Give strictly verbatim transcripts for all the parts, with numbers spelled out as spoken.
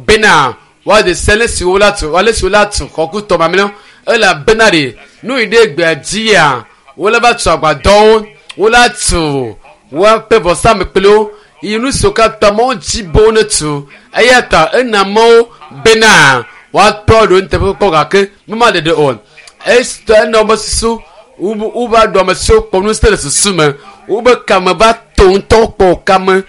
Bena woade se ale si wola tu ale si wola tu xɔ ku tɔ mamlɛwo elabena ɖe nu yi ɖe gbea dzia wole va tu agbadɔwo wola tu woaƒe vɔsamlekpuiwo yi nu siwo katã mawo dzi be wo ne tu eya ta ena mawo bena woatɔ ɖo nuteƒekpɔkpɔ gake mema ɖeɖe o esitɔ ena wobe susu wobe ɖo ame siwo kpɔ ŋusẽ le susu me wobe kame va to ŋutɔ kpɔ kame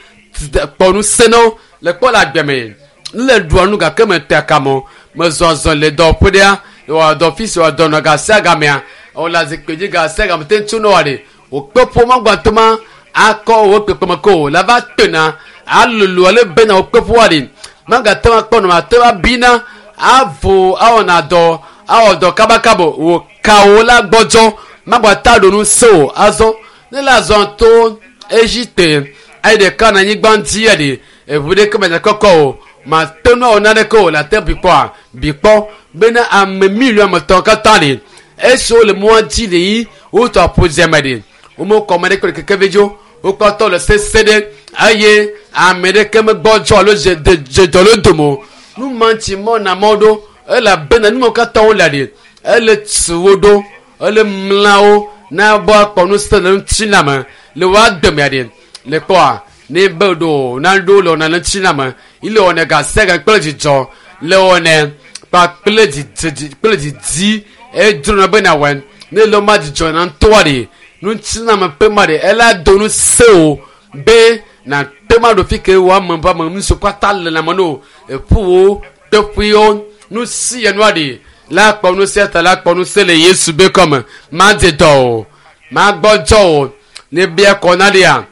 kpɔ ŋusẽ na wo le kpɔ le agbe me le ɖua nu gake me te kame o mezɔ zɔ le dɔwɔƒe ɖea wɔ dɔ fi si wɔ dɔ nɔ gasia gamea wòle azikpui dzi gasia game te ŋutsu ne wɔ ɖe wòkpe ƒome gbãtɔ ma akɔ wò kpekpeme ko o la va tena alolo ale bena wòkpe ƒoa ɖe magate ŋu akpɔ nɔ ate ŋu abina avo awɔna dɔ awɔ dɔ kabakaba wò kawo la gbɔdzɔ magbata ɖo nu se o azɔ ne le azɔ to Egipte ayi ɖeka na anyigba ŋuti ya ɖe eʋu ɖeke me kɔkɔ o mate ŋu awɔ naneke o le ate bikpɔa bikpɔ bena ame miliɔn ametɔn katã ɖe esiwo le mɔa dzi le yi wotɔ aƒu dzeme ɖe womekɔ ame ɖeke le keke vi dzo wokpɔtɔ le sese ɖe eye ame ɖeke megbɔdzɔ alo dze dze dɔ le dome o nu ma ŋuti mɔ na mɔ ɖo elabena nu mawo katã wole ɖe ele tu wo ɖo ele mla wo na bɔ akpɔ ŋusẽ le ŋutilã me le woa dɔmea ɖe le kpɔa ne be ɖo na ɖo le wɔna le ŋutilã me ile wɔnɛ gasia ga kple dzidzɔ le wɔnɛ kpakple didi kple didi edzrona be na wɔe ne le ma dzidzɔ na ŋutɔa ɖe ŋutilã me ƒe ma ɖe ela do ŋusẽ o be na te ma ɖo fi ke wo ame ƒe ame nu siwo katã le lãme no eƒuwo teƒewo nu si enua ɖe la kpɔ ŋusẽ ta la kpɔ ŋusẽ le Yesu be kɔme madze dɔ o magbɔdzɔ o ne bia kɔ na ɖea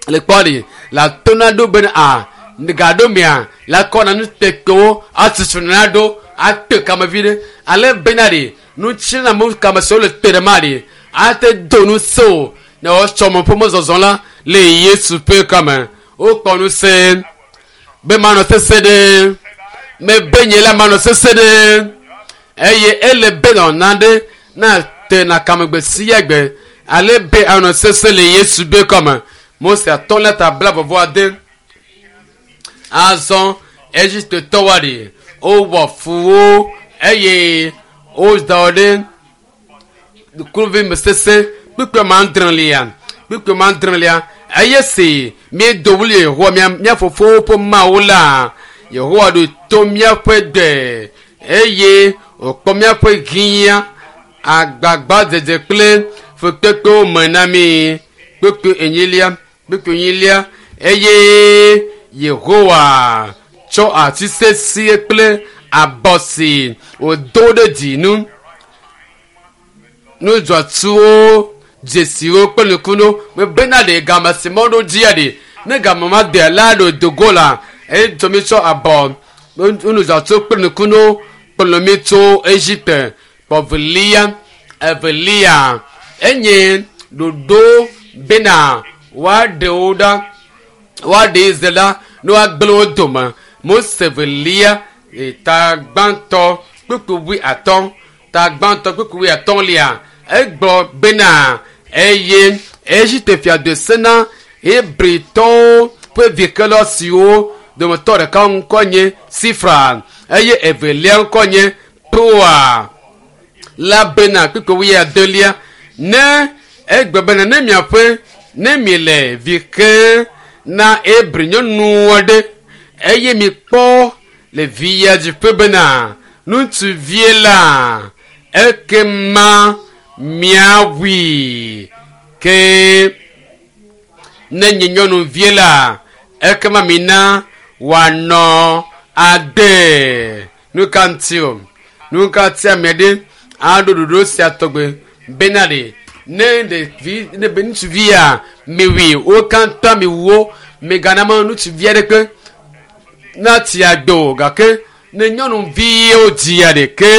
le kpɔ ɖe la tona ɖo bena a gaɖo mea la kɔ na nutekpewo atutu na ɖo ate kamevi ɖe ale bena ɖe nutsina mu kame siwo le te ɖe ma ɖe ate do ŋusẽ o ne wotsɔ me ƒe mɔzɔzɔ la le Yesu ƒe kɔme wokpɔ ŋusẽ be manɔ sese ɖe mebe nye la manɔ sese ɖe eye ele be nɔna ɖe na te na kamegbe sia gbe ale be anɔ sese le Yesu be kɔme Mose atɔ la ta bla vɔvɔ ade azɔ Egiptetɔwoa ɖe wowɔ fu wo eye woda wo ɖe kluvi me sese kpukpui ma adrelia kpukpui ma adrelia eye si míedo wli Yehowa mía mía fofowo ƒe Mawu la Yehowa ɖo to míaƒe gbe eye wòkpɔ míaƒe hiã agbagbadzedze kple fukpekpewo me na mí kpukpui enyilia kpukpui enyilia eye Yehowa tsɔ ati sesĩe kple abɔ si wòdo ɖe dzi nu nudzɔtsuwo dzesiwo kple nukunuwo mebena ɖe game si mɔ ɖo dzia ɖe ne game ma de la ɖo dogo la eye tso mi tsɔ abɔ nudzɔtsuwo kple nukunuwo kplɔ mi tso Egipte kpɔvelia evelia enye ɖoɖo bena woaɖe wo ɖa woaɖe Israel ɖa ne woagblẽ wo dome Mose velia ta gbãtɔ kpukpui wui atɔ̃ ta gbãtɔ kpukpui wui atɔ̃lia egblɔ bena eye Egipte fia de se na Hebritɔwo ƒe vikela siwo dometɔ ɖeka ŋkɔ nye Sifra eye evelia ŋkɔ nye Pua la bena kpukpui wui adelia ne egbe bena ne miaƒe ne miele vi ke na Hebri nyɔnu aɖe eye mikpɔ le via dziƒe bena ŋutsuvie la ekema miawui ke ne nye nyɔnuvie la ekema mina wòanɔ agbe nu ka ŋuti o nu ka ŋuti ame ɖe aɖo ɖoɖo sia tɔgbe bena ɖe ne ɖevi ne be ŋutsuvia miwui wo katã miwu wo migana ma ŋutsuvi aɖeke natsi agbe o gake ne nyɔnuviwo dzia ɖeke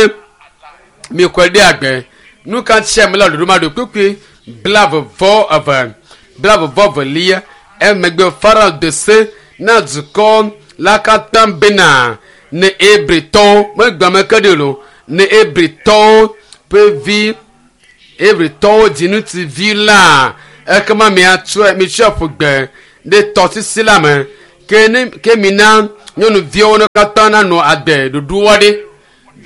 mikɔe ɖe agbe nu ka ŋuti ame la ɖoɖo ma ɖo kpekpe blaeve vɔ eve blaeve vɔ velia emegbe Farao de se na dukɔ la katã bena ne Hebritɔwo megbe ame ke ɖe o ne Hebritɔwo ƒe vi Hebritɔwo dzi ŋutsuvi la ekema miatsɔe mitsɔe ƒu gbe ɖe tɔsisi la me Ke ke mina nyɔnuviwo ne katã nanɔ agbe ɖoɖoa ɖe.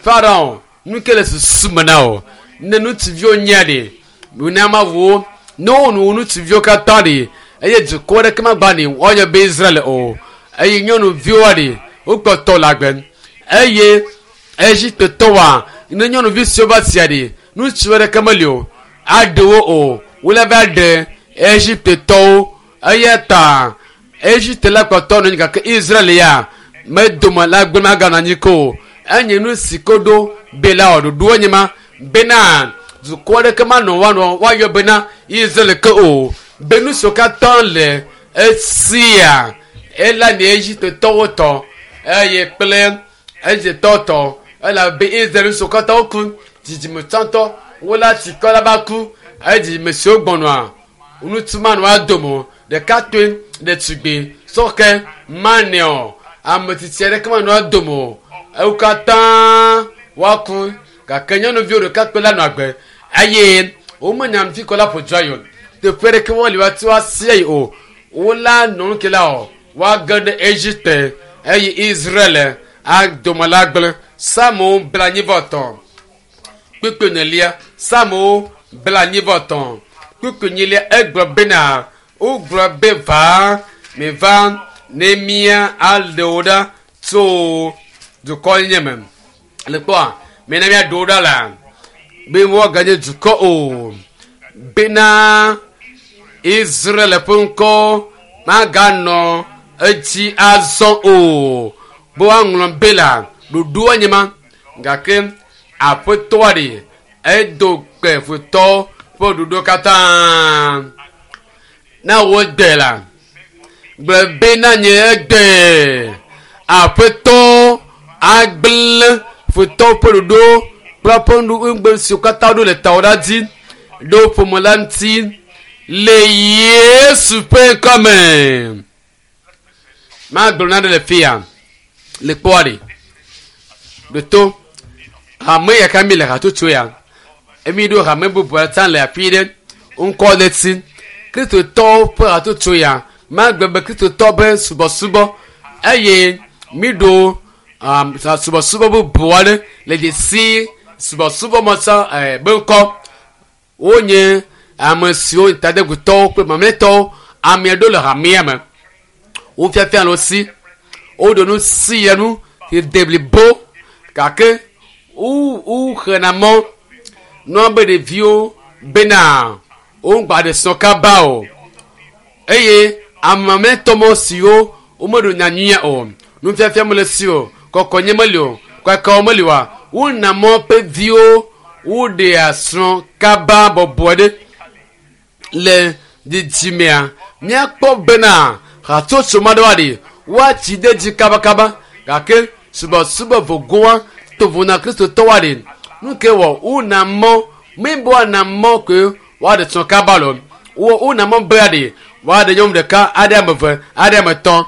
Farao nu ke le susu me na o. Ne ŋutsuviwo nyea ɖe mina ma wo ne wonu ŋutsuviwo katã ɖe eye dukɔ ɖeke magba ne woayɔ be Israel o. Eye nyɔnuviwoa ɖe wokpɔtɔ le agbe eye Egiptetɔwoa ne nyɔnuvi siwo va sia ɖe ŋutsu ɖeke meli o aɖe wo o wole va ɖe Egiptetɔwo eya ta Egipte la kpɔtɔ nɔ anyi gake Israel ya medome la gbe maganɔ anyi ke o. Enye nu si ko ɖo be la wɔ ɖoɖoa nye ma bena dukɔ aɖeke manɔ woanɔ woayɔ bena Israel ke o be nu siwo katã le esia ela nye Egiptetɔwo tɔ eye kple Egiptetɔwo tɔ elabe Israel nu siwo katã woku dzidzime tsãtɔ wola tsikɔ la va ku eye dzidzime siwo gbɔnɔa ŋutsu manɔ adome o ɖekakpui ɖetugbi sɔhɛ manɛ ame tsitsi aɖeke manɔ adome o ewo katã woaku gake nyɔnuviwo ɖekakpui la nɔ agbe eye womenya nu fi kɔ la ƒo dua yi o teƒe ɖeke woli woati woasia yi o wola nɔ nu ke la o woage ɖe Egipte eye Israel adome la gblẽ. Psalmo blaenyi-vɔ-etɔ̃ kpukpui enelia Psalmo blaenyi-vɔ-etɔ̃ kpukpui enyilia egblɔ bena wogblɔ be va miva ne mía aɖe wo ɖa tso dukɔ nye me. Le kpɔa mina míaɖe wo ɖa la be woaganye dukɔ o bena Israel ƒe ŋkɔ maganɔ edzi azɔ o be woaŋlɔ be la ɖoɖoa nye ma gake aƒetɔa ɖe edo kpe futɔ ƒe ɖoɖo katã na wo gbe la gblɔ be na nye egbe aƒetɔ agblẽ futɔ ƒe ɖoɖo kple eƒe nugbe siwo katã ɖo le tawò la dzi ɖo ƒome la ŋuti le Yesu ƒe ŋkɔme. Magblɔ nane le fia le kpɔa ɖe ɖoto hame ya ka mi le hatsotso ya emi ɖo hame bubu tsã le afi ɖe ŋkɔ le si Kristotɔwo ƒe hatsotso ya magblɔ be Kristotɔ be subɔsubɔ eye mi ɖo um, subɔsubɔ bubu aɖe le dzesi subɔsubɔ me tsã eh, be ŋkɔ wonye ame siwo tadegutɔwo kple mamlɛtɔwo ame aɖewo le hamea me wofiafia le wo si woɖo nu si ya nu de blibo gake wo woxena mɔ nua be ɖeviwo bena wogba ɖe srɔ̃ kaba o eye ame mamlɛtɔ mɔ siwo womeɖo nyanyuia o nufiafia mele si o kɔkɔnye meli o kakawo meli oa wona mɔ ƒe viwo woɖea srɔ̃ kaba bɔbɔe ɖe le dzidzimea míakpɔ bena hatsotso ma ɖewoa ɖe woatsi ɖe dzi kabakaba gake subɔsubɔ vogoa tovo na kristotɔwoa ɖe nu ke wɔ wona mɔ mi be woana mɔ ke woaɖe srɔ̃ kaba lo wo wona mɔ bea ɖe woaɖe nyɔnu ɖeka aɖe ame eve aɖe ame etɔ̃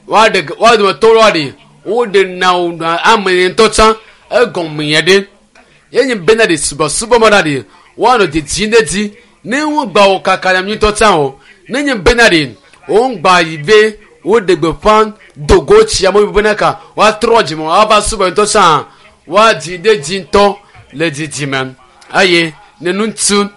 woaɖe woa dometɔ woa ɖe woɖe na wo ame ŋutɔ tsã egɔme ya ɖe yenye bena ɖe subɔsubɔ ma ɖa ɖe woanɔ dzedzim ɖe dzi ne wogba wo kaka nyam ŋutɔ tsã o ne nye bena ɖe wogba yi be woɖe gbeƒã dogo tsi amewo bena ka woatrɔ dzime woava subɔ ŋutɔ tsã woadzi ɖe dzi ŋutɔ le dzidzime eye ne ŋutsu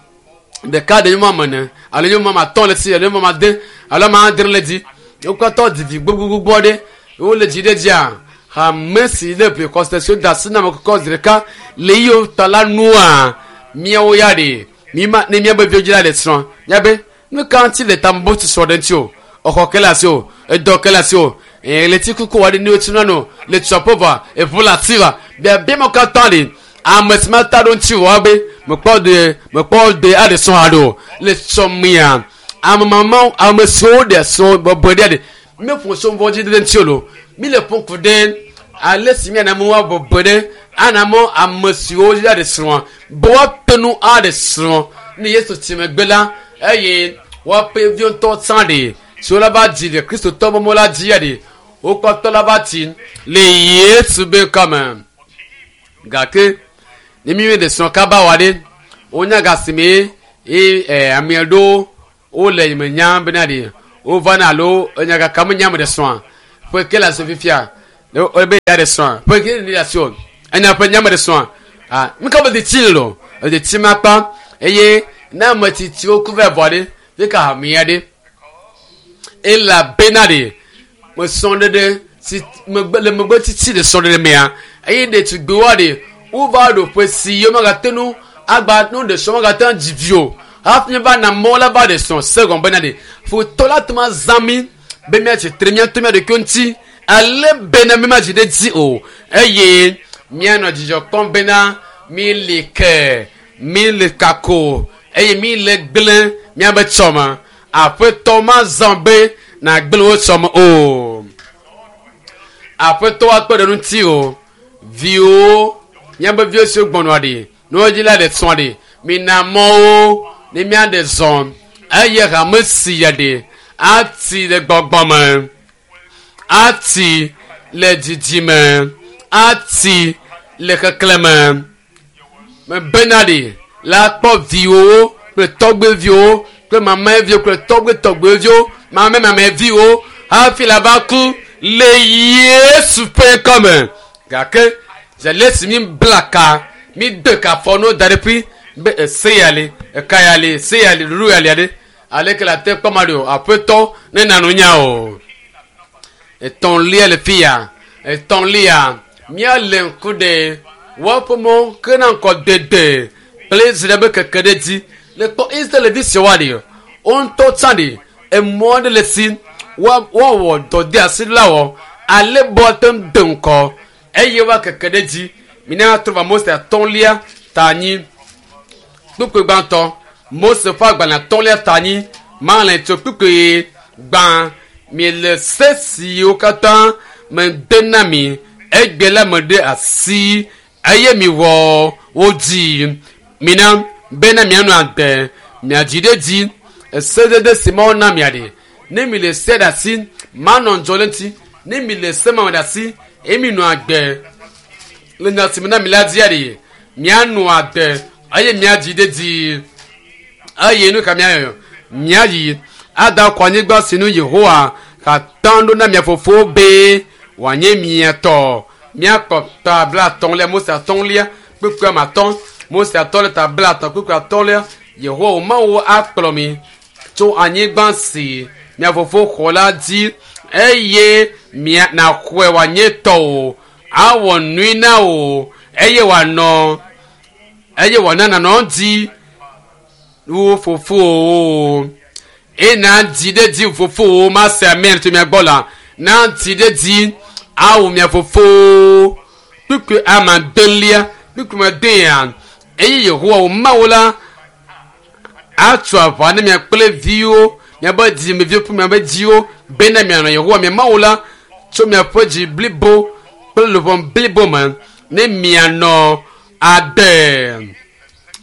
ɖeka ɖe nyɔnu ame ene alo nyɔnu ame atɔ̃ le si alo nyɔnu ame ade alo ame adre le dzi wo katã didi gbogbogbogbo aɖe wole dzi ɖe dzia hame si le ƒe siwo da asi na ame kɔkɔ zi ɖeka le yiwo ta la nua míawo ya ɖe mi ma ne míabe viwo dzi la le srɔ̃ míabe nu ka ŋuti le tamebu tu srɔ̃ ɖe ŋuti o exɔ ke le asi o edɔ ke le asi o ɣleti kuku wa ɖe ne wotsina no le tsuaƒe vɔa eʋu le asi va biabia ma katã ɖe ame si ma ta ɖo ŋuti wɔ be mekpɔ de mekpɔ de aɖe srɔ̃ haɖe o le sɔmea ame mamawo ame siwo ɖe srɔ̃ bɔbɔe ɖe ɖe míeƒo so vɔ dzi ɖe ŋuti o lo mi le ƒo ku ɖe ale si miana mɔ woabɔbɔe ɖe ana mɔ ame siwo dzi aɖe srɔ̃a be woate nu aɖe srɔ̃ ne Yesu tsi megbe la eye woaƒe viwo ŋutɔ tsã ɖe siwo la va dzi le kristotɔ mɔmɔ la dzi ya ɖe wokpɔtɔ la va tsi le Yesu be ŋkɔme gake ne mi ɖe srɔ̃ kaba wa ɖe wonya gasime ye ɛ ame aɖewo wole me nya bena ɖe wovana alo enya kaka me nya me ɖe srɔ̃a Ƒe ke le asi fifia o be ya de srɔ̃a ƒe ke le asi o enya ƒe nyame de srɔ̃a ah mi ka be de tsi lo de tsi ma kpa eye ne ame tsitsiwo ku vɛ vɔ ɖe fi ka hamea ɖe elabena ɖe me srɔ̃ɖeɖe si megbe le megbe tsitsi le srɔ̃ɖeɖe mea eye ɖetugbiwoa ɖe wova ɖo ƒe si yewo megate nu agba nu ɖe srɔ̃ megate ŋu dzi vi o hafi va na mɔ la va ɖe srɔ̃ se gɔme bena ɖe futɔ la te ma zã mi be míatsi tre míato mía ɖokuiwo ŋuti ale bena mi ma dzi ɖe dzi o eye míanɔ dzidzɔ kpɔm bena mi li ke mi le kako eye mi le gblẽ míabe tsɔme aƒetɔ ma zã be nagblẽ wo tsɔme o aƒetɔ akpe ɖe ŋuti o viwo míabe viwo siwo gbɔnɔa ɖi ne wodzi la ɖe srɔ̃ ɖi mina mɔwo ne míaɖe zɔ eye hame si ya ɖe ati le gbɔgbɔ me ati le didi me ati le keklẽ me mebena ɖi la kpɔ viwo kple tɔgbeviwo kple mamɛviwo kple tɔgbetɔgbeviwo mamɛmamɛviwo hafi la va ku le Yesu ƒe ŋkɔme gake zele si mi bla ka mi de ka fɔ no da ɖe ƒi be ese ya li eka ya li se ya li ɖuɖu ya li aɖe aleke la te kpɔ ma ɖi o aƒetɔ ne nanu nya o etɔ̃lia le fi ya etɔ̃lia míale ŋku ɖe woaƒe mɔ ke na ŋkɔ dede kple Israel be keke ɖe dzi le kpɔ Israel vi siawoa ɖi wo ŋutɔ tsã ɖi emɔ aɖe le si woawɔ dɔ de asi la wɔ ale be woate ŋu de ŋkɔ eye woa keke ɖe dzi mina trɔ va Mose atɔ̃lia ta anyi kpukpui gbãtɔ Mose ƒe agbalẽ atɔ̃lia ta anyi malẽ tso kpukpui gbã miele se siwo katã mede na mi egbe la me ɖe asi eye miwɔ wo dzi mina bena mianɔ agbe miadzi ɖe dzi esedede si Mawu na mia ɖe ne mi le se ɖe asi manɔ ŋdzɔ le ŋuti ne mi le se ma me ɖe asi eye mi nɔ agbe le nya si me na mi la dzia ɖe mianɔ agbe eye miadzi ɖe dzi eye nu ka miayɔ miayi ada kɔ anyigba si nu Yehowa katã ɖo na mia fofowo be wòanye mia tɔ miakpɔ ta bla atɔ̃lia Mose atɔ̃lia kpukpui ame atɔ̃ Mose atɔ̃ le ta bla atɔ̃ kpukpui atɔ̃lia Yehowa wò Mawu akplɔ mi tso anyigba si mia fofo xɔ la dzi eye mia naxɔe wòanye tɔwò awɔ nui na wò eye wòanɔ eye wòana nànɔ dzi wo fofowo eye na dzi ɖe dzi fofowo ma se amen tso mia gbɔ la na dzi ɖe dzi awu mia fofowo kpukpui ame adelia kpukpui ame adea eye Yehowa wò Mawu la atso aʋa ne mia kple viwo miabe dzimeviwo kple miabe dziwo bena mianɔ Yehowa mia Mawu la tso miaƒe dzi blibo kple luʋɔ blibo me ne mianɔ agbe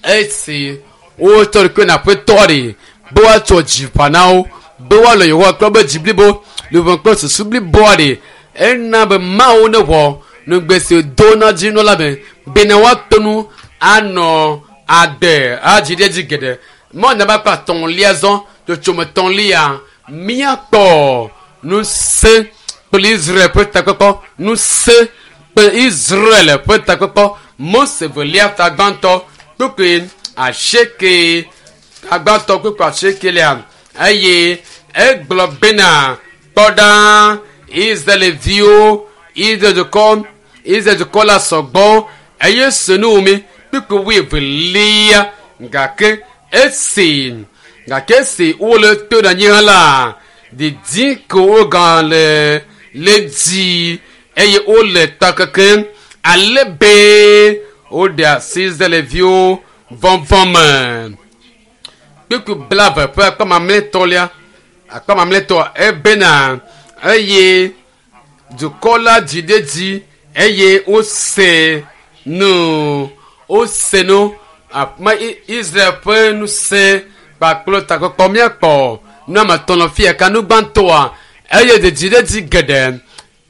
esi wotsɔ ɖokui na aƒetɔ ɖe be woatsɔ dzi ƒã na wo be woalɔ Yehowa kple woƒe dzi blibo luʋɔ kple susu bliboa ɖe ena be Mawu ne wɔ nugbe si do na dzi nɔ la me bena woato nu anɔ agbe adzi ɖe dzi geɖe mɔ naba kple atɔ̃lia zɔ tsotsome tɔ̃lia míakpɔ ŋusẽ kple Israel ƒe takpekpɔ ŋusẽ kple Israel ƒe takpekpɔ Mose velia ta gbãtɔ kpukpui asieke agbãtɔ kpukpui asiekelia eye egblɔ bena kpɔ ɖa Israelviwo Israel dukɔ Israel dukɔ la sɔgbɔ eye se nu mi kpukpui wuievelia gake esi gake esi wole to ɖe anyi hã la didi ko wogã le le dzi eye wole ta kekem ale be woɖe asi Israelviwo vɔvɔ me kpukpui blaeve ƒe akpa mamlɛtɔlia akpa mamlɛtɔ ebena eye dukɔ la dzi ɖe dzi eye wose nu wose nu ama Israel ƒe ŋusẽ kpakple takpekpɔ míakpɔ nu ame etɔ̃ le fia ka nu gbãtɔa eye dzidzi ɖe dzi geɖe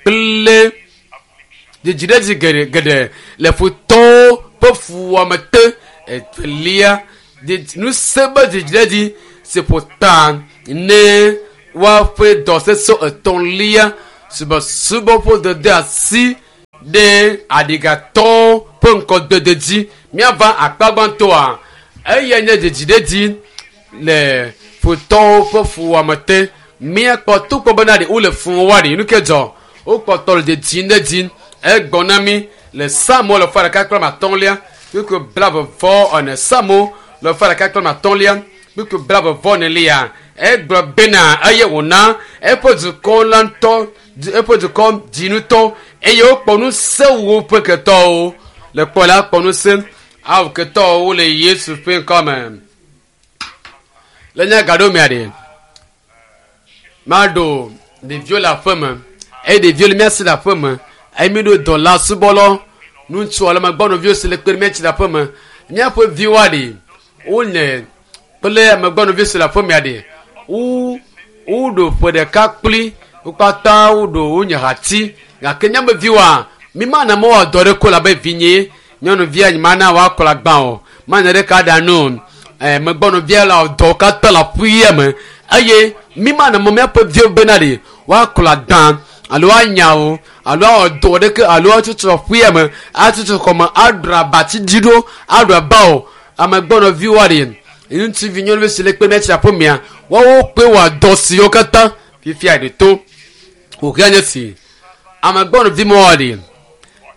kple dzidzi ɖe dzi geɖe geɖe le futɔwo ƒe fuwɔame te evelia ŋusẽ be dzidzi ɖe dzi si ƒo ta ne woaƒe dɔ sesẽ etɔ̃lia Subɔsubɔ ƒe dede asi ɖe aɖigatɔwo ƒe ŋkɔdede dzi. Míava akpa gbãtɔa, eya nye dzidziɖedzi le futɔwo ƒe fuwɔame te. Míakpɔ togbɔ bena ɖe wole fu wɔa ɖe nu ke dzɔ. Wokpɔtɔ le dzidzim ɖe dzi. Egbɔ na mí le Psalmo le fa ɖeka kple ame atɔ̃lia kpukpui blaeve vɔ ene. Psalmo le fa ɖeka kple ame atɔ̃lia kpukpui blaeve vɔ enelia. Egblɔ bena eye wòna eƒe dukɔ la ŋutɔ eƒe dukɔ dzinutɔ eye wokpɔ ŋusẽ wu woƒe ketɔwo. Le kpɔ la kpɔ ŋusẽ awu ketɔwo le Yesu ƒe ŋkɔme. Le nye gaɖo mea ɖe, maɖo ɖeviwo le aƒeme eye ɖeviwo le mía si le aƒeme eye mi ɖo dɔla subɔlɔ ŋutsu alo amegbɔnɔviwo si le kpe ɖe mía ŋuti le aƒeme. Míaƒe viwoa ɖe wole kple amegbɔnɔviwo si le aƒemea ɖe wo woɖo ƒe ɖeka kpli wo katã woɖo wonye hati gake míaƒe viwoa mi mana mɔ woawɔ dɔ ɖe ko labe vinye nyɔnuvia nye mana woakplɔ agbã o mana ɖeka ɖa nu ɛ megbɔnɔvia le dɔ katã le aƒuia me eye mi mana mɔ míaƒe viwo bena ɖe woakplɔ agbã alo anya wo alo awɔ dɔ ɖeke alo atutu aƒuia me atutu xɔme aɖu abatsi dzi ɖo aɖu aba o amegbɔnɔviwoa ɖe ŋutsuvi nyɔnuvi si le kpe mía tsi aƒemea woawo kpe wɔ dɔ siwo katã fifia ɖe to wòhea nye si amegbɔnɔvi mɔwoa ɖe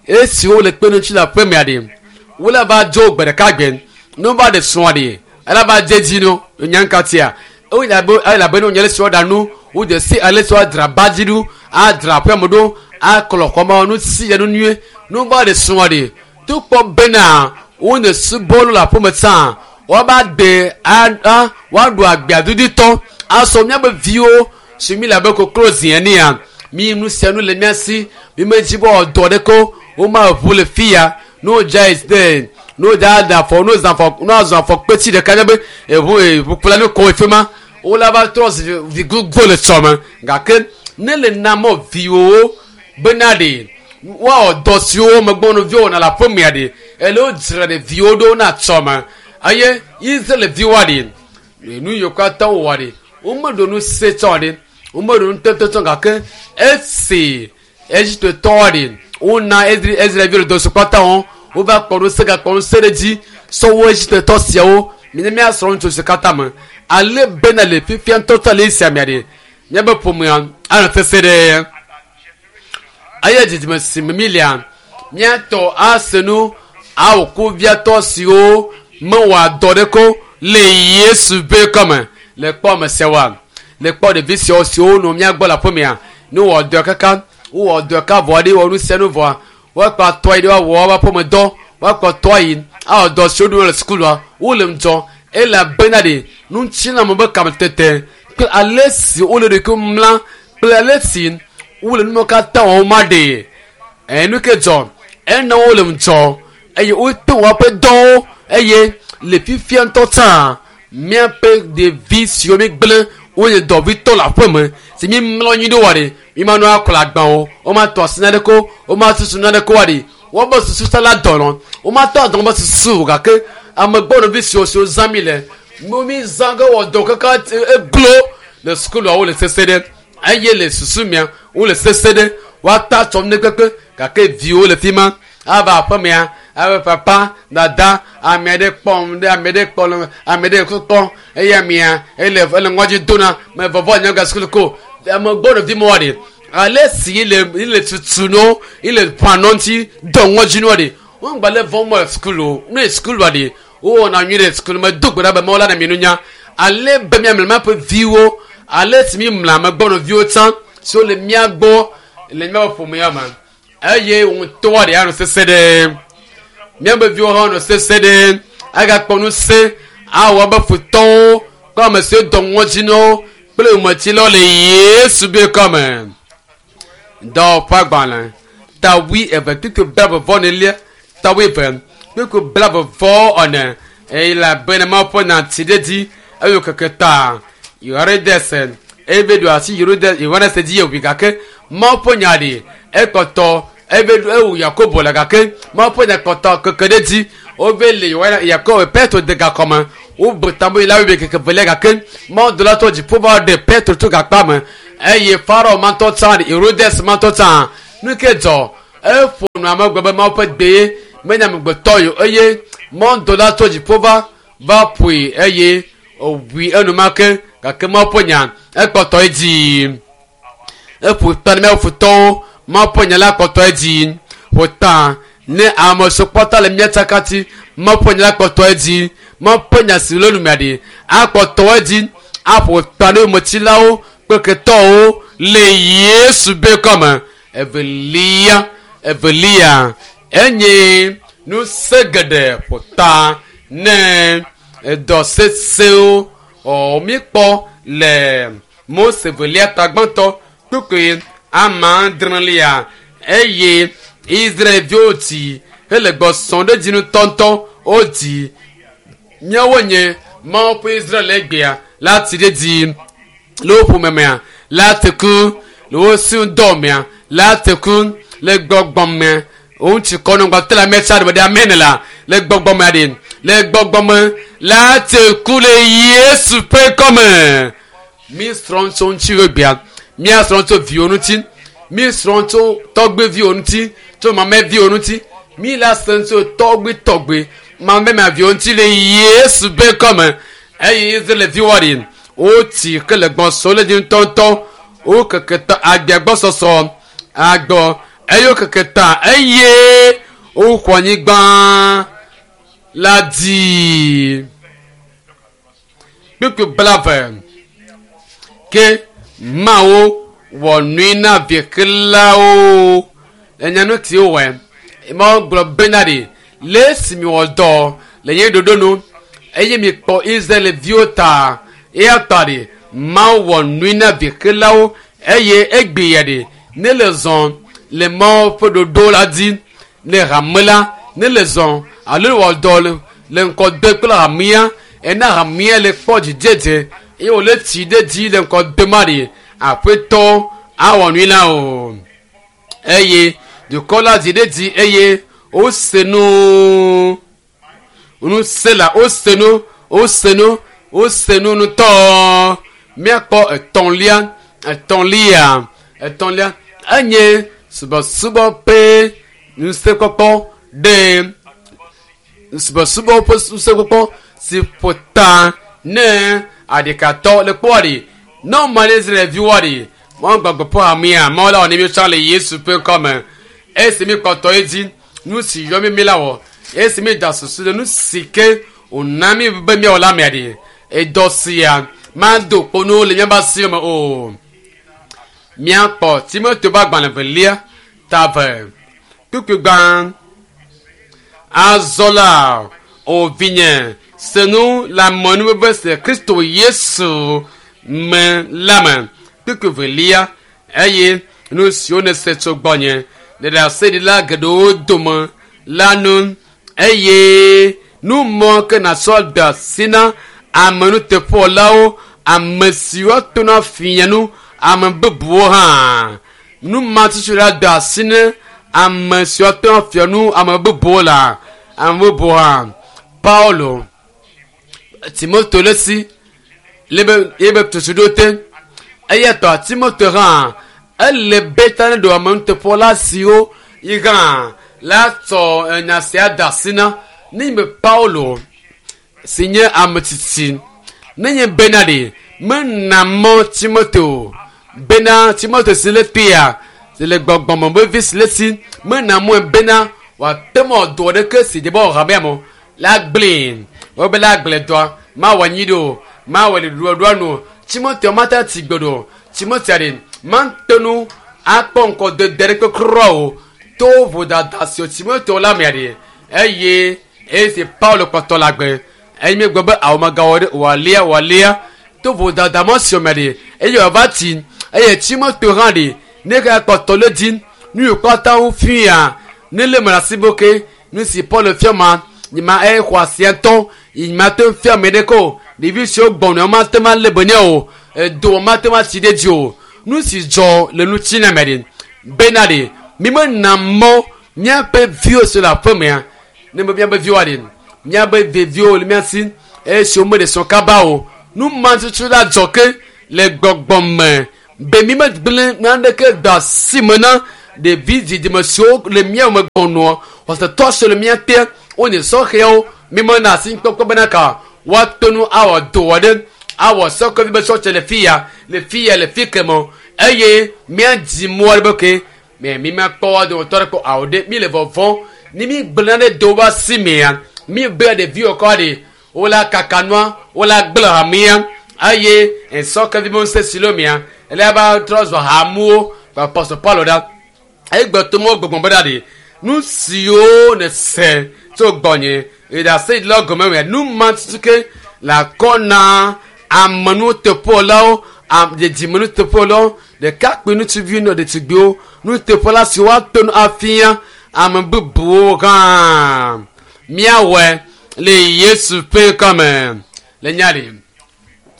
esiwo le kpe ŋuti le aƒemea ɖe wole va dzo gbe ɖeka gbe ne wova ɖe srɔ̃a ɖe ele va dze dzi no nyankatia elabe ne wonye le si woaɖa nu wodze si ale si woadzra ba dzi ɖo adzra aƒeme ɖo aklɔ xɔme nu si ya nu nyuie ne wova ɖe srɔ̃a ɖe to kpɔ bena wone subɔlu le aƒeme tsã woava gbe a woaɖu agbea dudutɔ asɔ míaƒe viwo si mi le abe koklo zi enea mi nu sia nu le mía si mi medzi be wɔdɔ ɖe ko woma ʋu le fi ya ne wodza yi de ne wodza da afɔ ne wozã afɔ ne wazɔ afɔ kpetsi ɖeka nye be eʋu eʋukplɔ ne kɔ efi ma wola va trɔ zi vi gbogbo le tsɔme gake ne le na mɔ viwowo bena ɖe woawɔ dɔ siwo megbɔnɔviwo wɔna le aƒemea ɖe ele wodzra ɖeviwo ɖo na tsɔme eye Israel viwoa ɖe nu yiwo katã wowɔ ɖe womeɖo nu se tsɔ ɖe womeɖo nu tete tsɔ gake esi Egiptetɔwoa ɖe wona Israelviwo le dɔ si kpata wɔm wova kpɔ nu se gakpɔ nu se ɖe dzi sɔwo Egiptetɔ siawo mine míasrɔ̃ nu tso si katã me ale bena le fifia ŋutɔtɔ le esia mea ɖe míaƒe ƒomea anɔ sese ɖe eye dzidzime si me mília míatɔ ase nu awɔ kuviatɔ siwo mewɔa dɔ ɖe ko le Yesu ƒe kɔme le kpɔ ame siawoa le kpɔ ɖevi siawo siwo nɔ mía gbɔ le aƒemea ne wowɔ dɔ kaka wowɔ dɔ ka vɔ ɖe wɔ nu sia nu vɔa woakpa tɔ yi ɖe woawɔ woƒe aƒemedɔ woakpa tɔ yi awɔ dɔ siwo ɖum le sukulua wole ŋudzɔ elabena ɖe ŋutilãme be kametete kple ale si wole ɖokuiwo mla kple ale si wole nuwo katã wɔm ma ɖe enu ke dzɔ ena wole ŋudzɔ eye wote woƒe dɔwo eye le fifia ŋutɔ tsã míaƒe ɖevi siwo mígblẽ wonye dɔvitɔ le aƒeme si mímlɔ anyi ɖo wa ɖe míma nu akplɔ agbã o womatɔ asi naɖe ko womatutu naɖe ko wa ɖe wobe susu sa la dɔnɔ womatɔ adɔ be susu o gake amegbɔnɔvi siwo siwo zã mi le mi zã ge wɔ dɔ kaka eglo le sukulua wole sese ɖe eye le susu mia wole sese ɖe woata tsɔm ne kpekpe gake viwo le fi ma ava aƒemea abe papa dada ame aɖe kpɔm ɖe ame aɖe kpɔ ame aɖe kpɔm eye amea ele ele ŋɔdzi dona me vɔvɔ nye ga sukulu ko ame gbɔnɔvi ma wa ɖe ale si le le tutu no ile ƒanɔ ŋuti dɔ ŋɔdzi no ɖe wogba le vɔm le sukulu ne sukulua ɖe wowɔna nyui ɖe sukulu me do gbe ɖa be Mawu la na mi nunya ale be míamle míaƒe viwo ale si mi mle amegbɔnɔviwo tsã siwo le mía gbɔ le míaƒe ƒomea me eye ŋutɔa ɖe anɔ sese ɖe míaƒe viwo hã nɔ sese ɖe agakpɔ ŋusẽ awɔ abe futɔwo kple ame siwo dɔ ŋɔdzi na wo kple yometsilawo le Yesu ƒe kɔme. Dɔwɔƒe agbalẽ ta wui eve kpukpui blaeve vɔ enelia ta wui eve kpukpui blaeve vɔ ene eye elabena Mawu ƒe nya tsi ɖe dzi eye keke ta Yohanes ebe ɖo asi Yohanes dzi ewui gake Mawu ƒe nya ɖi ekpɔtɔ ebe ewu Yakobo le gake Mawu ƒe nya kpɔtɔ keke ɖe dzi wobe le Yakobo Petro de gakɔme Wobu tamu yi la webe keke velia gake mawudɔla tɔ dziƒo va ɖe Petro tso gakpa me eye Farao matɔ tsã Herodes matɔ tsã nu ke dzɔ eƒo nu ame gblɔ be Mawu ƒe gbe ye menye amegbetɔ yi o eye mawudɔla tso dziƒo va va ƒoe eye wòwui enumake gake Mawu ƒe nya ekpɔtɔ edzi. Eƒo ta ne míaƒe futɔwo Mawu ƒe nya la kpɔtɔ edzi. Ƒo ta ne ame siwo kpɔta le mía tsakati Mawu ƒe nya la kpɔtɔ edzi. Mawu ƒe nya si le numea ɖi akpɔtɔ edzi aƒo ta ne yometsilawo kple ketɔwo le Yesu be kɔme. Evelia evelia enye ŋusẽ geɖe ƒo ta ne edɔ sesẽwo ɔ míkpɔ le Mose velia ta gbãtɔ kpukpui ame adrelia eye Israelviwo dzi hele gbɔsɔm ɖe dzi ŋutɔŋutɔ wodzi míawo nye Mawu ƒe Israel egbea la ti ɖe dzi le wo ƒome mea la te ku le wo si dɔ mea la te ku le gbɔgbɔ me ŋutsu kɔnu gbɔtɔ le ame tsa ɖe ɖe ame ne la le gbɔgbɔ mea ɖe le gbɔgbɔ me la te ku le Yesu ƒe kɔme. Mi srɔ̃ tso ŋuti egbea mía srɔ̃ tso viwo ŋuti mi srɔ̃ tso tɔgbeviwo ŋuti tso mameviwo ŋuti mi la se tso tɔgbe tɔgbe mamemaviwo ŋuti le Yesu ƒe kɔme eye Israelviwo ɖi wotsi ke le gbɔsɔ le dzi ŋutɔŋutɔ wo keke ta agbea gbɔsɔsɔ agbɔ eye wo keke ta eye woxɔ anyigba la dzi. Kpukpui blave ke Mawu wɔ nui na viekelawo enya nu ti wowɔe Mawu gblɔ bena ɖi le esi miwɔ dɔ le nye ɖoɖo nu eye mikpɔ Israelviwo ta eya ta ɖi Mawu wɔ nui na viekelawo eye egbe ya ɖi ne le zɔ le Mawu ƒe ɖoɖo la dzi ne hame la ne le zɔ alo wɔ dɔ le le ŋkɔ de kple hamea ena hamea le kpɔ dzidzedze eye wòle tsi ɖe dzi le ŋkɔ de ma ɖi aƒetɔ awɔ nui na o eye dukɔ la dzi ɖe dzi eye wose nu nu se la wose nu wose nu wose nu ŋutɔ míakpɔ etɔ̃lia etɔ̃lia etɔ̃lia enye subɔsubɔ ƒe ŋusẽkpɔkpɔ ɖe subɔsubɔ ƒe ŋusẽkpɔkpɔ si ƒo ta ne aɖekatɔ le kpɔ ɖi ne woma ɖe Israelviwo ɖi Mawu gbɔgbɔ ƒe hamea Mawu la wɔ ne míetsɔ le Yesu ƒe ŋkɔme esi míkpɔtɔ edzi nu si yɔ mí mi la wɔ esi mída susu ɖe nu si ke wòna mí be míawɔ la mea ɖi edɔ sia mado kpo nuwo le míaƒe asi me o. Míakpɔ Timoteo ƒe agbalẽ velia ta eve kpukpui gbã azɔ la o vinye se nu le amenuveve si le Kristo Yesu me la me kpukpui velia eye nu siwo nèse tso gbɔnye le ɖaseɖila geɖewo dome la nu eye nu mɔ ke nàtsɔ de asi na amenuteƒewɔlawo ame siwo tona fia nu ame bubuwo hã nu ma tutu la de asi ne ame siwo tona fia nu ame bubuwo la ame bubuwo hã Paulo Timoteo le si lebe ebe tutu ɖo te eya tɔ Timoteo hã ele be ta ne ɖo amenuteƒewɔla siwo yi hã la tsɔ enya sia de asi na ne nye Paulo si nye ame tsitsi ne nye bena ɖe mena mɔ Timoteo bena Timoteo si le tea si le gbɔgbɔme be vi si le si mena mɔe bena wòate mɔ dɔ ɖeke si dze be wɔ hamea me la gblẽ wobe la gblẽ dɔa mawɔ anyi ɖo o mawɔ le ɖoɖoa nu o Timoteo mate tsi gbe ɖo Timoteo ɖe mate nu akpɔ ŋkɔ dede ɖe kpe kura o to vodada si Timoteo la mea ɖe eye esi Paulo kpɔtɔ le agbe eye míegblɔ be awu megawɔ ɖe wòalia wòalia to vodada mɔ si me ɖe eye wòava tsi eye Timoteo hã ɖe ne ke kpɔtɔ le dzi nu yiwo katã fia ne le me le asi be ke nu si Paulo fia ma nyima exɔ asia ŋutɔ nyima te fia ame ɖeke o ɖevi siwo gbɔnɔ mate ma lé be nɛ o edo mate ma tsi ɖe dzi o nu si dzɔ le ŋuti me ɖe bena ɖe mi mena mɔ míaƒe viwo si le aƒemea ne be míaƒe viwoa ɖe míaƒe ɖeviwo le mía si Esi wome ɖe srɔ̃ kaba o. Nu ma tutu la dzɔ ke le gbɔgbɔ me be mi megblẽ naneke do asi me na ɖevi dzidzime siwo le mía me gbɔnɔ xɔsetɔ siwo le mía te wonye sɔhɛwo mi mena asi kpɔkpɔ bena ka woato nu awɔ dɔ ɖe awɔ sɔkɔvi be sɔtse le fi ya le fi ya le fi keme eye míadzi mɔ aɖe be ke mɛ mi makpɔ wa dometɔ ɖe kpɔ awo ɖe mi le vɔvɔm ni mi gblẽ ɖe do wa si mea mi be ɖeviwo kɔ ɖe wola kaka nua wola gblẽ hamea eye nsɔkɔvi be ŋusẽ si le mea ele ba trɔ zɔ hamuwo apɔstɔ Paulo ɖa egbe to mɔ gbɔgbɔ be ɖa ɖe nu siwo ne se tso gbɔnye eɖase le gɔme mea nu ma tutu ke le akɔ na amenuteƒelawo dzidzimenuteƒelawo ɖekakpui ŋutsuviwo ne ɖetugbiwo nuteƒela si woato nu afia ame bubuwo hã míawɔe le Yesu ƒe ŋkɔme le nya ɖi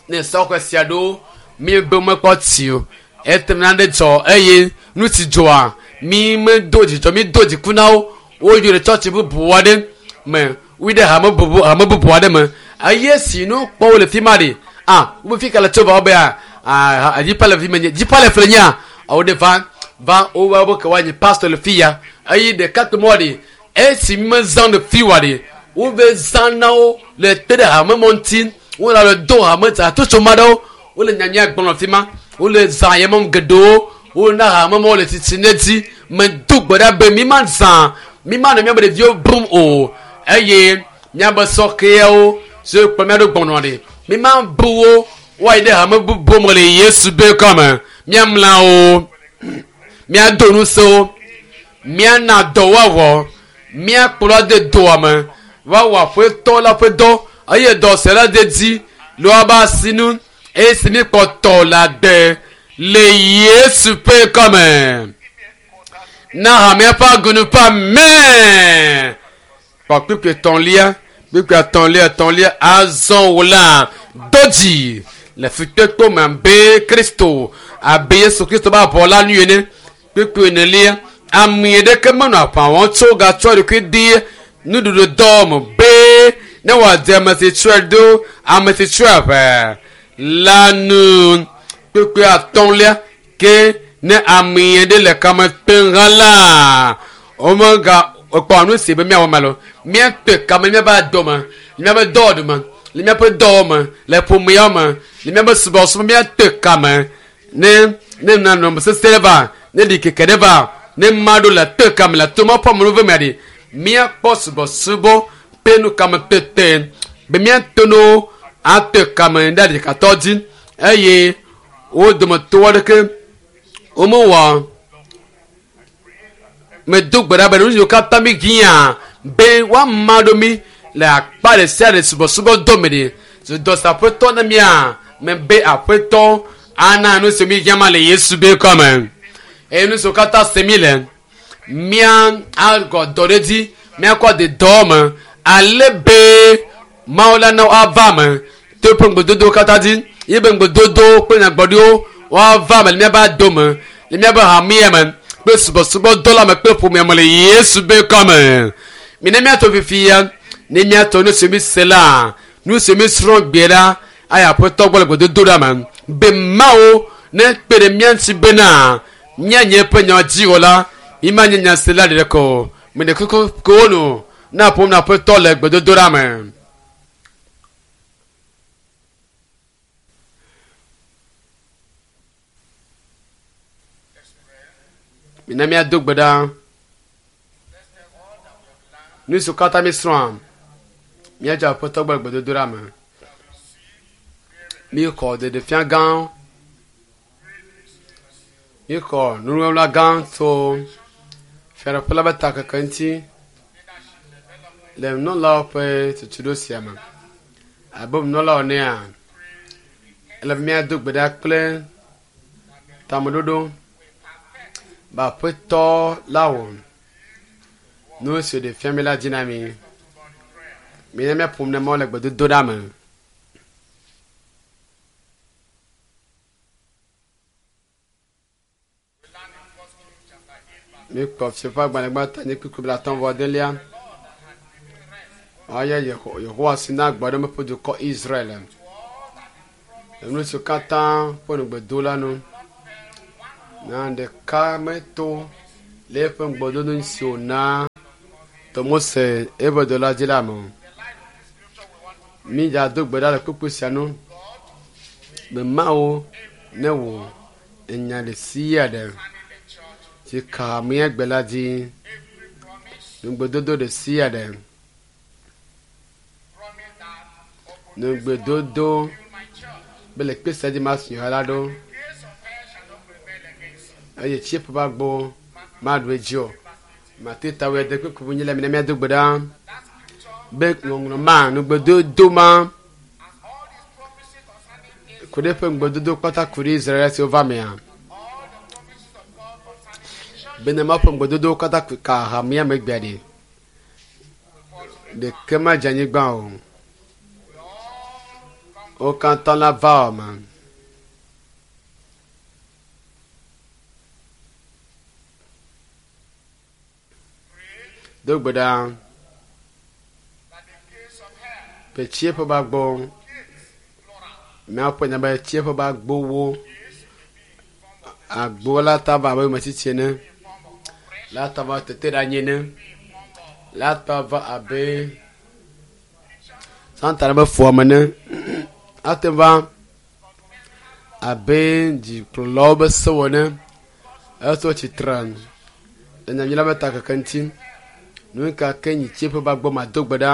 ne sɔxɔ sia ɖo mi be mekpɔ tsi o ete nane dzɔ eye nu si dzɔa mi medo dzidzɔ mi do dziku na wo woyi ɖe tsɔtsi bubu aɖe me woyi ɖe hame bubu hame bubu aɖe me eye si nu kpɔ wo le fi ma ɖi ah wo fi ka le tso va wo be ah ah dzipa le fi me nye dzipa le fle nyea awo ɖe va va wo va wo ke woanyi pastor le fi ya eye ɖeka kpe mɔ ɖi esi mezã le fi wa ɖi wo ve zã na wo le te ɖe hame mɔ ŋuti wo le do hame hatsotso ma ɖewo wole nyanya gblɔm le fi ma wole zã yemɔm geɖewo wona hame mɔ le tsitsi ne dzi medo gbe ɖa be mi ma zã mi ma nɔ miabe ɖeviwo bum o eye miabe sɔkɛawo siwo kplɔ mia ɖo gbɔnɔ ɖi mi ma bu wo woayi ɖe hame bubu me le Yesu be kɔme miamla wo miado ŋusẽ wo miana dɔ woawɔ miakplɔ de doa me woawɔ aƒetɔ la ƒe dɔ eye dɔ se la de dzi le woabe asinu eye si mi kpɔtɔ le agbe le Yesu ƒe kɔme na hamea ƒe agunu ƒe amen kpɔ kpikpi etɔ̃lia kpikpi etɔ̃lia etɔ̃lia azɔ wò la do dzi le fukpekpe me abe Kristo abe Yesu Kristo be avɔ la nu ene kpikpi enelia ame ɖeke menɔ aʋa wɔm tso gatsɔ ɖokui di nuɖuɖu dɔ me be ne wòadze ame si tsɔe ɖo ame si tsɔe aʋa la nu kpikpi atɔ̃lia ke ne ame ɖe le kame tem hã la womega ekpɔ nu si be míawɔ me lo míate kame míaƒe adɔ me le míaƒe dɔwɔɖu me le míaƒe dɔwɔ me le ƒomea me le míaƒe subɔsubɔ míate kame ne ne nanɔme sesẽ ɖe va ne ɖikeke ɖe va ne ma ɖo le te kame le to maƒe amenuve mea ɖi míakpɔ subɔsubɔ ƒe nu kame tete be míate no ate kame ɖe ɖekatɔ dzi eye wo dometɔ aɖeke womewɔ medo gbe ɖa be nu siwo katã mi hiã be woama ɖo mi le akpa ɖe sia ɖe subɔsubɔ dɔ me ɖi dɔ si aƒetɔ na mia me be aƒetɔ ana nu si mi hiã ma le Yesu be kɔme eye nu siwo katã se mi le mía agɔ dɔ ɖe dzi míakɔ de dɔ me ale be Mawu la na woava me to eƒe ŋugbedodowo katã dzi ye be ŋugbedodowo kple nyagblɔɖiwo woava me le míaƒe ado me le míaƒe hamea me kple subɔsubɔdɔ la me kple ƒomea me le Yesu be kɔme mi ne míatɔ fifia ne míatɔ nu si mi se la nu si mi srɔ̃ gbe la eye aƒetɔ gbɔ le gbedodo ɖa me be Mawu ne kpe ɖe mía ŋuti bena míanye eƒe nya dziwɔla mi ma nye nyasela ɖeɖe ko o mi ɖe kuku ko nu na ƒom na aƒetɔ le gbedodo ɖa me. Mina míado gbe ɖa. Nu siwo katã míesrɔ̃a, míadze aƒetɔ gbɔ le gbedodoɖa me. Míexɔ ɖeɖefia gã, míexɔ nuŋlɔɖa gã tso fiaɖuƒe la ƒe takeke ŋuti le nunɔlawo ƒe tutuɖo sia me. Abe nunɔlawo enea, ele be míado gbe ɖa kple tameɖoɖo be aƒetɔ la wɔ nu si wòɖe fia mi la dzi na mi. Mina míaƒo nu na Mawu le gbedodoɖa me. Míekpɔ Fiaƒe agbalẽ gbãtɔ nye kpukpui blaatɔ̃ vɔ adelia. Aya Yehowa si na agba ɖe meƒe dukɔ Israel. Enu siwo katã ƒe ŋugbedo la nu. Na ɖeka meto le eƒe ŋugbedodo si wòna to Mose eƒe dɔla dzi la me o. Mídzado gbe ɖa le kpukpui sia nu be Mawu ne wò enya ɖe sia ɖe si ka mía gbe la dzi, ŋugbedodo ɖe sia ɖe, ŋugbedodo be le kpe sia dzi masu ha la ɖo eye tsiẽƒe ƒe agbo maɖu edzi o. Mate tawoe de kpukpui nyi le mi ne míado gbe ɖa be ŋɔŋlɔ ma ŋugbedodo ma ku ɖe eƒe ŋugbedodo kpata ku ɖe Israel siwo va mea bene Mawu ƒe ŋugbedodowo katã ka hamea me gbea ɖe ɖeke madze anyigba o. Wo katã la va wɔme. Do gbe ɖa be tsiẽƒe ƒe agbo míaƒe nya be tsiẽƒe ƒe agbowo agbo la ta va abe metsitsi ene la ta va tete ɖe anyi ene la ta va abe Satana be fuame ene ate va abe dzikplɔlawo be sewo ene etso tsitre le nyanyui la be takeke ŋuti. Nu ka ke nyi tsiẽƒe ƒe agbo mado gbe ɖa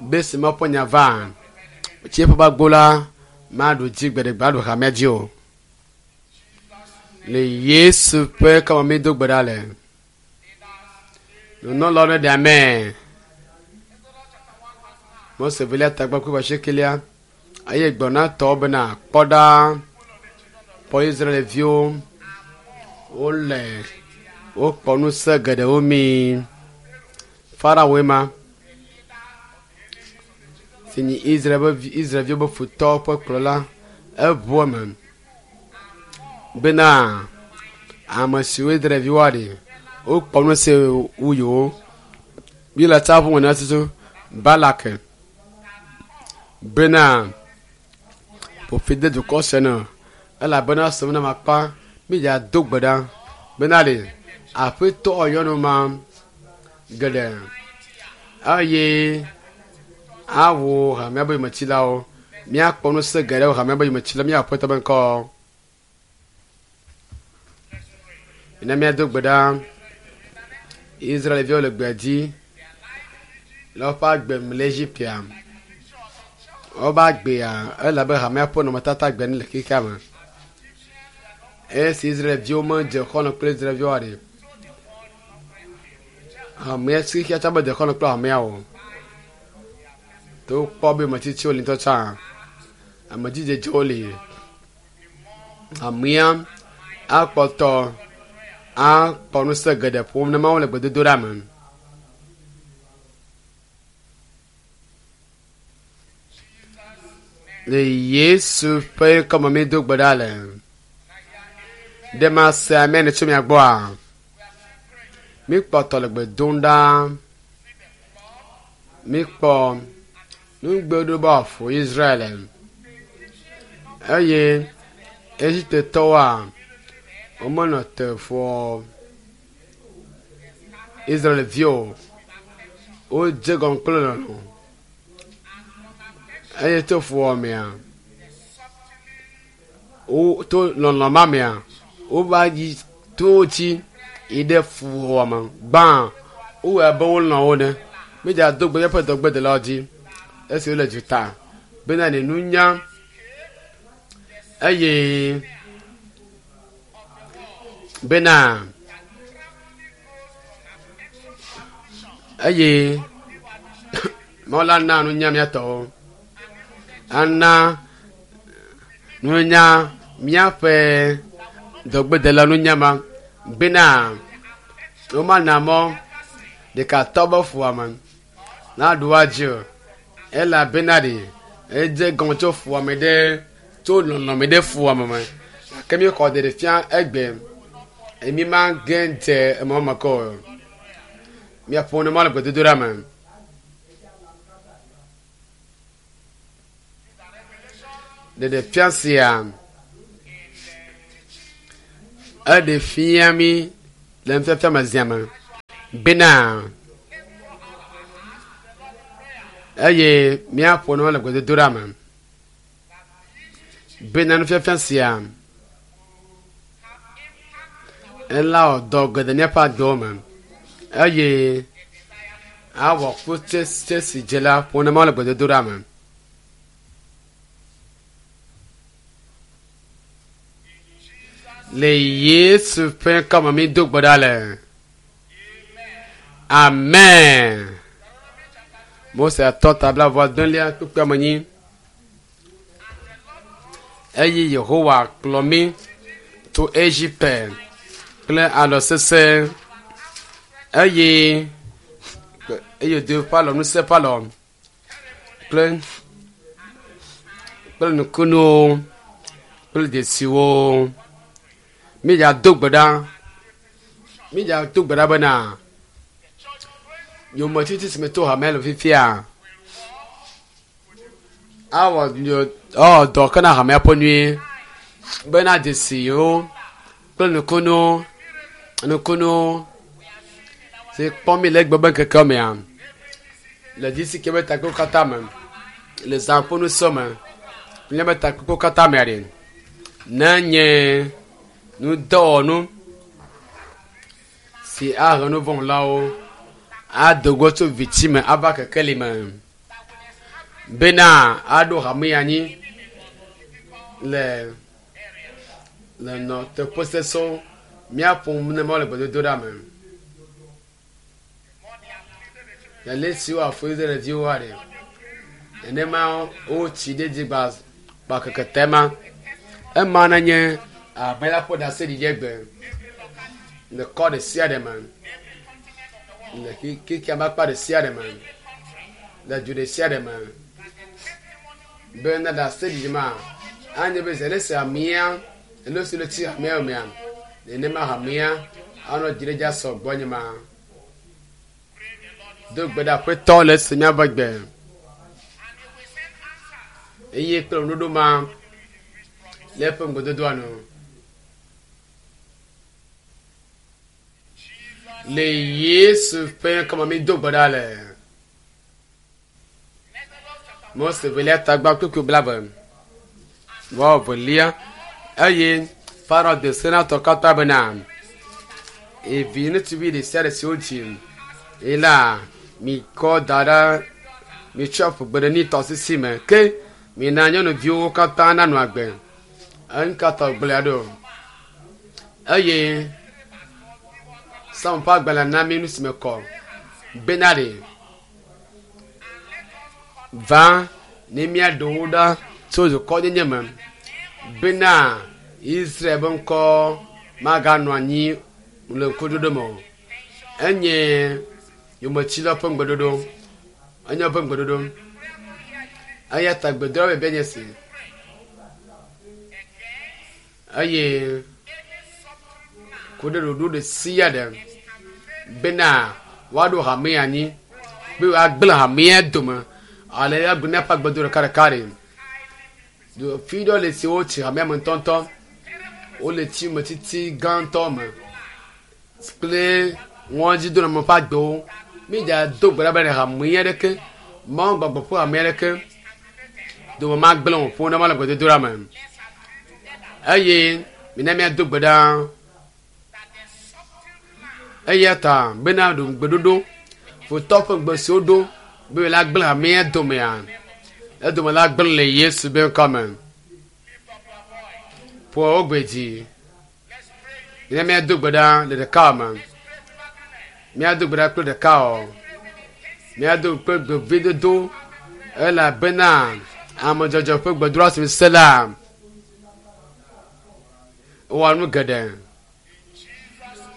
be si Mawu ƒe nya va tsiẽƒe ƒe agbo la maɖu dzi gbe ɖe gbe aɖu hamea dzi o. Le Yesu ƒe kama mi do gbe ɖa le. Nunɔlawo ne ɖe ame. Mose velia tagba kple asiekelia eye gblɔ na tɔwo bena kpɔ ɖa kpɔ Israelviwo wole wokpɔ ŋusẽ geɖewo mi. Farawoe ma si nyi Israel be vi Israelviwo be futɔwo ƒe kplɔla eʋu eme bena ame siwo Israelviwoa ɖe wokpɔ ŋusẽ wu yewo. Biblia tsa ʋu ŋu tutu Balak bena ƒofi de dukɔ sia ne elabena sem na makpa mídza do gbe ɖa bena ɖe aƒetɔ nyɔnu ma geɖe eye awo hamea be yometsilawo míakpɔ ŋusẽ geɖe wo hamea be yometsilawo míaƒe aƒetɔ be ŋkɔ. Ne míado gbe ɖa Israelviwo le gbea dzi le woƒe agbe me le Egiptea. Woƒe agbea ele abe hamea ƒe nɔnɔmetata gbe ene le xexea me. Esi Israelviwo medze xɔlɔ̃ kple Israelviwoa ɖe hamea si xexea tsã medze xɔlɔ̃ kple hamea o. To wokpɔ be ametsitsiwo li ŋutɔ tsã amedzidzedzewo li. Hamea akpɔtɔ akpɔ ŋusẽ geɖe ƒom ne Mawu le gbedodoɖa me. Le Yesu ƒe ŋkɔme mi do gbe ɖa le. Ɖe mase ame ne tso mia gbɔa? Míkpɔtɔ le gbe dom ɖa. Míkpɔ nugbeɖo be wòaƒo Israel eye Egiptetɔwoa womenɔ te ƒoa Israelviwo. Wodze gɔme kple lɔlɔ̃ eye to fuwɔamea wo to lɔlɔ̃ ma mea wova yi to wo dzi yi ɖe fuwɔame gbã wowɔe abe wolɔ̃ wo ene. Mídza do gbe míaƒe dɔgbedelawo dzi esi wole duta bena ne nunya eye bena eye Mawu la na nunya míatɔwo ana nunya míaƒe dɔgbedela nunya ma bena womana mɔ ɖekatɔ be fuwɔame naɖu woa dzi o elabena ɖe edze gɔme tso fuwɔame ɖe tso lɔlɔ̃me ɖe fuwɔame me gake míexɔ ɖeɖe fia egbe emi ma ge dze emɔ me ke o. Míaƒo ne ma le gbedodoɖa me. Ɖeɖefia sia eɖe fia mi le nufiafia me zia me bena eye míaƒo nu le gbedodoɖa me bena nufiafia sia ela wɔ dɔ geɖe míaƒe agbewo me eye awɔ kutsetse si dze la ƒo ne mawo le gbedodoɖa me. Le Yesu ƒe ŋkɔme mi do gbe ɖa le. Amen. Mose atɔ tabla vɔ adelia kpukpui ame nyi. Eye Yehowa kplɔ mí tso Egipte kple alɔ sesẽ eye eye do eƒe alɔ ŋusẽ ƒe alɔ kple kple nukunuwo kple dzesiwo. Mídza do gbe ɖa. Mídza do gbe ɖa bena yometiti si me to hamea le fifia awɔ awɔ dɔ ke na hamea ƒe nyuie bena dzesiwo kple nukunuwo nukunuwo si kpɔm mi le egbe be ŋkeke mea le dzisi ke be takpekpe katã me le zã ƒe nusɔ me míaƒe takpekpewo katã mea ɖe ne nye nudɔwɔnu si ahe nu vɔ̃lawo ado go tso viti me ava kekeli me bena aɖo hame anyi le le nɔ teƒe sesẽwo míaƒo nu ne mawo le gbedodoɖa me. Le si woafɔ Israelviwo ɖe nenema wotsi ɖe dzi gba gba keke tema ema nenye abe la ƒe ɖaseɖiɖi egbe le kɔ ɖe sia ɖe me le xexea me akpa ɖe sia ɖe me le du ɖe sia ɖe me be ne ɖaseɖiɖi ma anye be zi ale si amea alo si le tsi hamea mea nenema hamea anɔ dzi ɖe dzi asɔ gbɔ nye ma. Do gbe ɖe aƒetɔ le esi míaƒe gbe eye kple ŋuɖoɖo ma le eƒe ŋgɔdodoa nu. Le Yesu ƒe ŋkɔme mi do gbe ɖa le. Mose velia tagba kpukpui blaeve vɔ velia eye Farao de se na tɔ katã bena evi ŋutsuvi ɖe sia ɖe si wodzi eye la mikɔ da ɖe mitsɔ ƒu gbe ɖe Nil tɔsisi me ke mina nyɔnuviwo katã nanɔ agbe. Eŋkatɔ gblɔe ɖo eye Psalm ƒe agbalẽ na mi nu si me kɔ bena ɖe va ne míaɖe wo ɖa tso dukɔnyenye me bena Israel ƒe ŋkɔ maganɔ anyi le ŋkuɖoɖo me o. Enye yometsilawo ƒe ŋgbeɖoɖo. Enye woƒe ŋgbeɖoɖo. Eya ta gbedoɖa be nye si. Eye ku ɖe ɖoɖo ɖe sia ɖe bena woaɖo hame anyi be woagblẽ hamea dome ale agblẽ míaƒe agbedo ɖekaɖeka ɖe. Fi ɖewo le si wotsi hamea me ŋutɔŋutɔ. Wole tsi me titi gãtɔ me kple ŋɔdzidoname ƒe agbewo. Mídza do gbe ɖa be hamea ɖeke Mawu gbɔgbɔ ƒe hamea ɖeke dome magblẽ o ƒo ne ma le gbedodoɖa me. Eye mina míado gbe ɖa. Eya ta bena ɖo gbeɖoɖo futɔ ƒe gbe si woɖo be la gblẽ hamea domea edome la gblẽ le Yesu be ŋkɔ me. Ƒo wo gbe dzi. Mina míado gbe ɖa le ɖeka me. Míado gbe ɖa kple ɖeka o. Míado kple gbevidodo elabena ame dzɔdzɔ ƒe gbedoɖa si se la wɔ nu geɖe.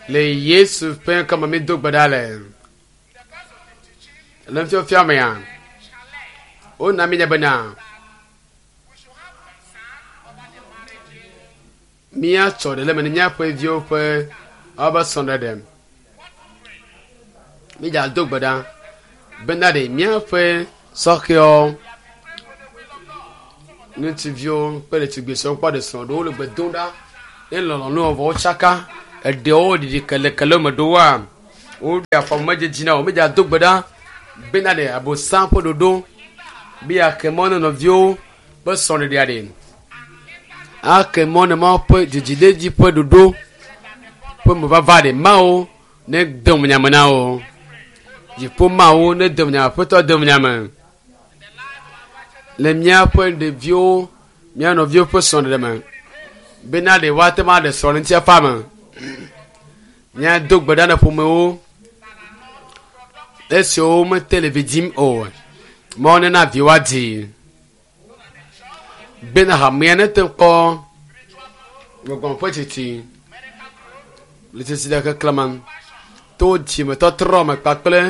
Le Yesu ƒe ŋkɔme mi do gbe ɖa le. Le nufiafia mea, wona mi nya bena míatsɔ ɖe le me ne míaƒe viwo ƒe woaƒe srɔ̃ɖeɖe. Mídza do gbe ɖa bena ɖe míaƒe sɔhɛwo Ŋutsuviwo kple ɖetugbi siwo kpɔ ɖe srɔ̃ ɖewo le gbe dom ɖa ne lɔlɔ̃nu vɔ wotsaka eɖewo ɖiɖi kelekele me ɖowoa woɖe afɔ medzedzi na wo medza do gbe ɖa bena ɖe abosam ƒe ɖoɖo be yeake mɔ ne nɔviwo ƒe srɔ̃ɖeɖea ɖe ake mɔ ne mawo ƒe dzidziɖedzi ƒe ɖoɖo ƒe mevava ɖe mawo ne de nyame na wo dziƒo mawo ne de nyame aƒetɔ de nyame le míaƒe ɖeviwo mía nɔviwo ƒe srɔ̃ɖeɖe me bena ɖe woate ŋu aɖe srɔ̃ le ŋutifafa me míado gbe ɖa na ƒomewo esiwo mete le vi dzim o mawo nena vi woadzi bena hamea nete kpɔ gbɔgbɔ ƒe tsitsi le tsitsi ɖe keklẽ me to dzimetɔtrɔ me kpakple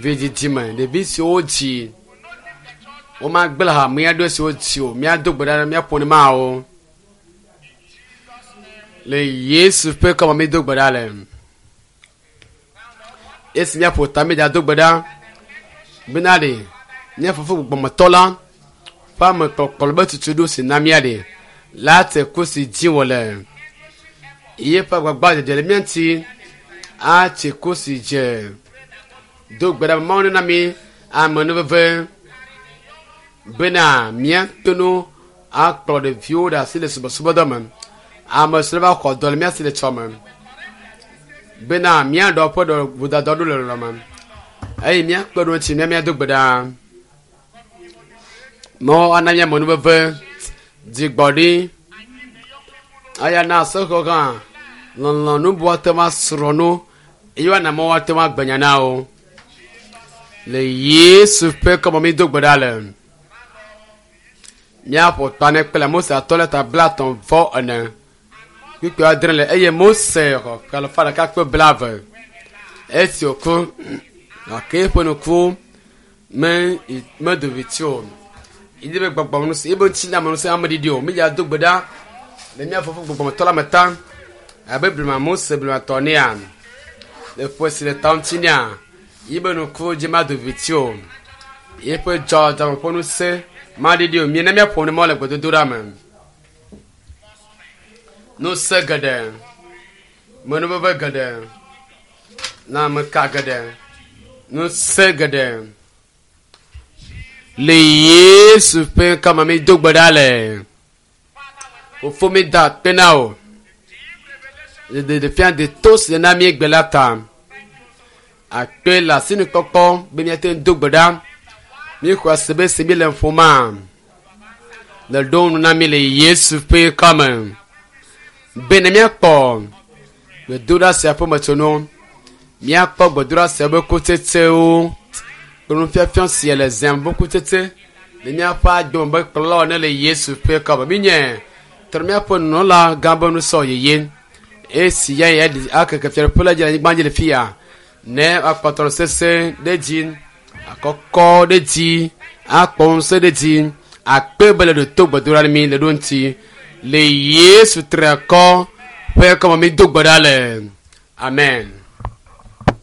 vidzidzi me ɖevi siwo dzi womagblẽ hamea ɖo siwo dzi o míado gbe ɖa míaƒo ne mawo le Yesu ƒe kɔme mído gbe ɖa le esi míaƒo ta mídza do gbe ɖa bena ɖe mía fofo gbɔgbɔmetɔ la ƒe ame kpɔkplɔ be tutu ɖo si na mía ɖe la te ku si dzi wòle ye ƒe agbagba dzedze le mía ŋuti atsi ku si dze do gbe ɖa mawu nena mi amenuveve bena míate ŋu akplɔ ɖeviwo ɖe asi le subɔsubɔdɔ me ame siwo va xɔ dɔ le mía si le tsɔme bena míaɖɔ ƒe ɖɔ vodada ɖo le lɔlɔ me eye míakpe ɖo ŋuti mía míado gbe ɖa mawu ana mía amenuveve dzigbɔɖi aya na asexɔ hã lɔlɔ nubu ate ŋu asrɔ̃ nu eye woana mawu ate ŋu agbe nya na wo le Yesu ƒe kɔme mi do gbe ɖa le míaƒo ta ne kple Mose atɔ le ta blaetɔ̃ vɔ ene kpukpui adre le eye Mose xɔ ƒe alafa ɖeka kple blaeve esi wòku gake eƒe nuku me medo viti o yi be gbɔgbɔ ŋusẽ ebe ŋutilã me ŋusẽ ameɖiɖi o mídza do gbe ɖa le mía fofo gbɔgbɔmetɔ la me ta abe blema Mose blematɔ nea le ƒe si le ta ŋuti nea yi be nuku dzi mado viti o yeƒe dzɔdzɔme ƒe ŋusẽ maɖiɖi o miena míaƒo ne mɔ le gbedodoɖa me ŋusẽ geɖe menuveve geɖe lãmeka geɖe ŋusẽ geɖe le Yesu ƒe ŋkɔme mi do gbe ɖa le fofo mi da akpe na o le ɖeɖefia de to si le na mi egbe la ta akpe le asinukpɔkpɔ be míate ŋu do gbe ɖa míexɔ ase be se mi le ƒoma le ɖo nu na mi le Yesu ƒe ŋkɔme be ne míakpɔ gbedoɖa sia ƒe metsonu míakpɔ gbedoɖa sia ƒe kutsetsewo kple nufiafia sia le zãm ƒe kutsetse le míaƒe agbe me be kplɔlawo ne le Yesu ƒe ŋkɔme míenye trɔ míaƒe nunɔla gã be nusɔ yeye esi ya ya akeke fiaɖuƒe la dzi le anyigba dzi le fia ne akpɔtɔ sese ɖe dzi akɔkɔ ɖe dzi akpɔ ŋusẽ ɖe dzi akpe be le ɖo to gbedoɖa ne mi le ɖo ŋuti le Yesu triakɔ ƒe kɔme mi do gbe ɖa le amen.